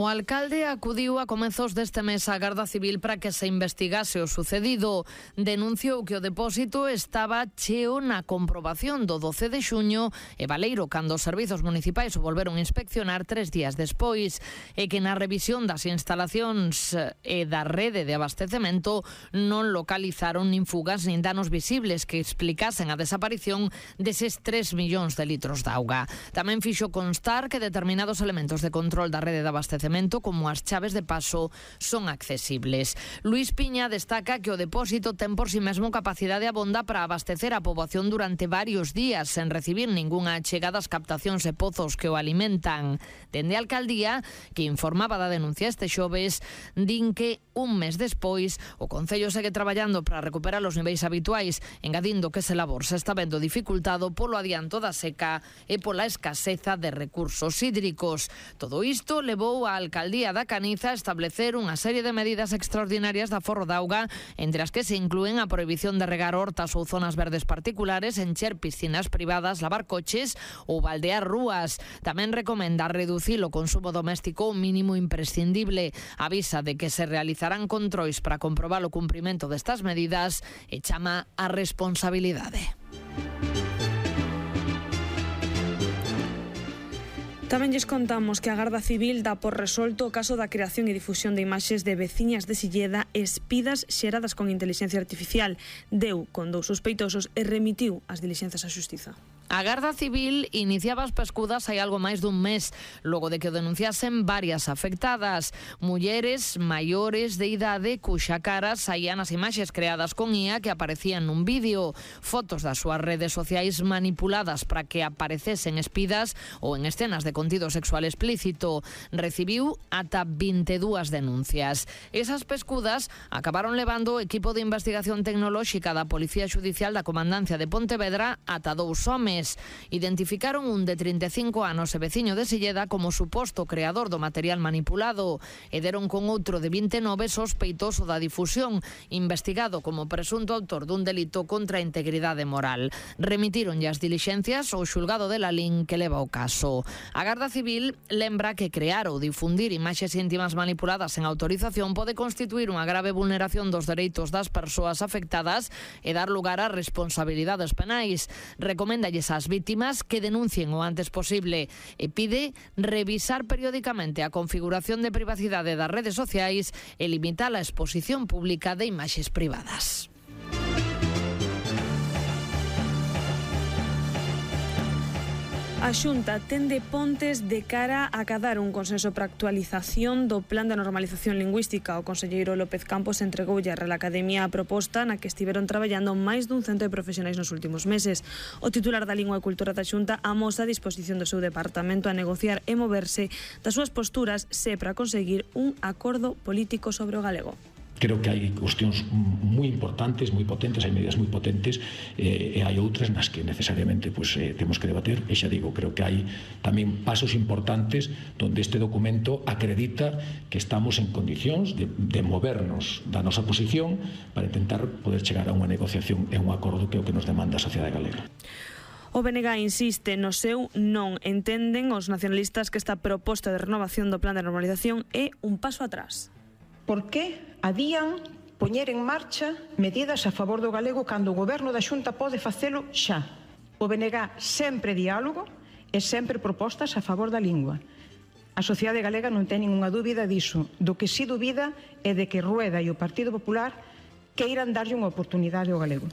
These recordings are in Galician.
O alcalde acudiu a comezos deste mes á Garda Civil para que se investigase o sucedido. Denunciou que o depósito estaba cheo na comprobación do 12 de xuño e baleiro cando os servizos municipais o volveron a inspeccionar 3 días despois, e que na revisión das instalacións e da rede de abastecemento non localizaron nin fugas nin danos visibles que explicasen a desaparición deses 3 millóns de litros de auga. Tamén fixo constar que determinados elementos de control da rede de abastecemento como as chaves de paso son accesibles. Luís Piña destaca que o depósito ten por si mesmo capacidade abonda para abastecer a poboación durante varios días sen recibir ningunha achega das captacións e pozos que o alimentan. Dende a alcaldía, que informaba da denuncia este xoves, din que un mes despois o Concello segue traballando para recuperar os niveis habituais, engadindo que ese labor se está vendo dificultado polo adianto da seca e pola escaseza de recursos hídricos. Todo isto levou a Alcaldía da Caniza a establecer unha serie de medidas extraordinarias de aforro de auga, entre as que se inclúen a prohibición de regar hortas ou zonas verdes particulares, encher piscinas privadas, lavar coches ou baldear rúas. Tamén recomenda reducir o consumo doméstico ao mínimo imprescindible. Avisa de que se realizarán controis para comprobar o cumprimento destas medidas e chama a responsabilidade. Tamén lles contamos que a Garda Civil dá por resolto o caso da creación e difusión de imaxes de veciñas de Silleda espidas xeradas con inteligencia artificial. Deu con 2 sospeitosos e remitiu as dilixenzas á Xustiza. A Garda Civil iniciaba as pescudas hai algo máis dun mes, logo de que o denunciasen varias afectadas, mulleres maiores de idade cuxa cara saían as imaxes creadas con IA que aparecían nun vídeo, fotos das súas redes sociais manipuladas para que aparecesen espidas ou en escenas de contido sexual explícito. Recibiu ata 22 denuncias. Esas pescudas acabaron levando o equipo de investigación tecnolóxica da Policía Xudicial da Comandancia de Pontevedra ata 2 homes. Identificaron un de 35 anos e veciño de Silleda como suposto creador do material manipulado e deron con outro de 29 sospeitoso da difusión, investigado como presunto autor dun delito contra a integridade moral. Remitíronlle as dilixencias ao xulgado de Lalín que leva o caso. A Garda Civil lembra que crear ou difundir imaxes íntimas manipuladas sen autorización pode constituir unha grave vulneración dos dereitos das persoas afectadas e dar lugar a responsabilidades penais. Recoméndalles ás vítimas que denuncien o antes posible e pide revisar periódicamente a configuración de privacidade das redes sociais e limitar a exposición pública de imaxes privadas. A Xunta tende pontes de cara a acadar un consenso para a actualización do Plan de Normalización Lingüística. O conselleiro López Campos entregoulle a Real Academia a proposta na que estiveron traballando máis dun cento de profesionais nos últimos meses. O titular da Lingua e Cultura da Xunta amosa a disposición do seu departamento a negociar e moverse das súas posturas se para conseguir un acordo político sobre o galego. Creo que hai cuestións moi importantes, moi potentes, hai medidas moi potentes e hai outras nas que necesariamente temos que debater e xa digo, creo que hai tamén pasos importantes donde este documento acredita que estamos en condicións de movernos da nosa posición para intentar poder chegar a unha negociación e un acordo que é o que nos demanda a sociedade galega. O BNG insiste no seu non. Entenden os nacionalistas que esta proposta de renovación do Plan de Normalización é un paso atrás. Por que adían poñer en marcha medidas a favor do galego cando o goberno da Xunta pode facelo xa? O BNG sempre diálogo e sempre propostas a favor da lingua. A sociedade galega non ten ningunha dúbida diso. Do que si dúbida é de que Rueda e o Partido Popular queiran darlle unha oportunidade ao galego.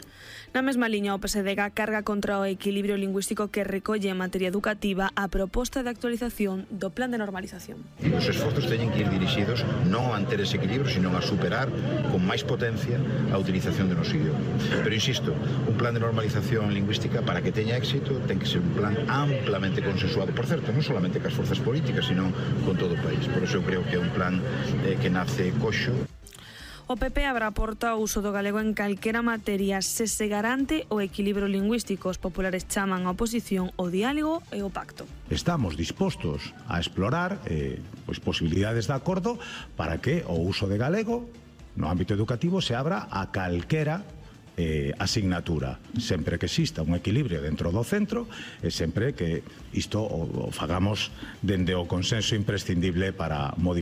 Na mesma liña, o PSDG carga contra o equilibrio lingüístico que recolle en materia educativa a proposta de actualización do Plan de Normalización. Os esforzos teñen que ir dirixidos non a manter ese equilibrio, sino a superar con máis potencia a utilización do noso idioma. Pero insisto, un plan de normalización lingüística para que teña éxito ten que ser un plan amplamente consensuado, por certo, non solamente cas forzas políticas, sino con todo o país. Por eso eu creo que é un plan que nace coxo. O PP abre a porta ao uso do galego en calquera materia se garante o equilibrio lingüístico. Os populares chaman a oposición o diálogo e o pacto. Estamos dispostos a explorar posibilidades de acordo para que o uso de galego no ámbito educativo se abra a calquera asignatura, sempre que exista un equilibrio dentro do centro e sempre que isto o fagamos dende o consenso imprescindible para modificar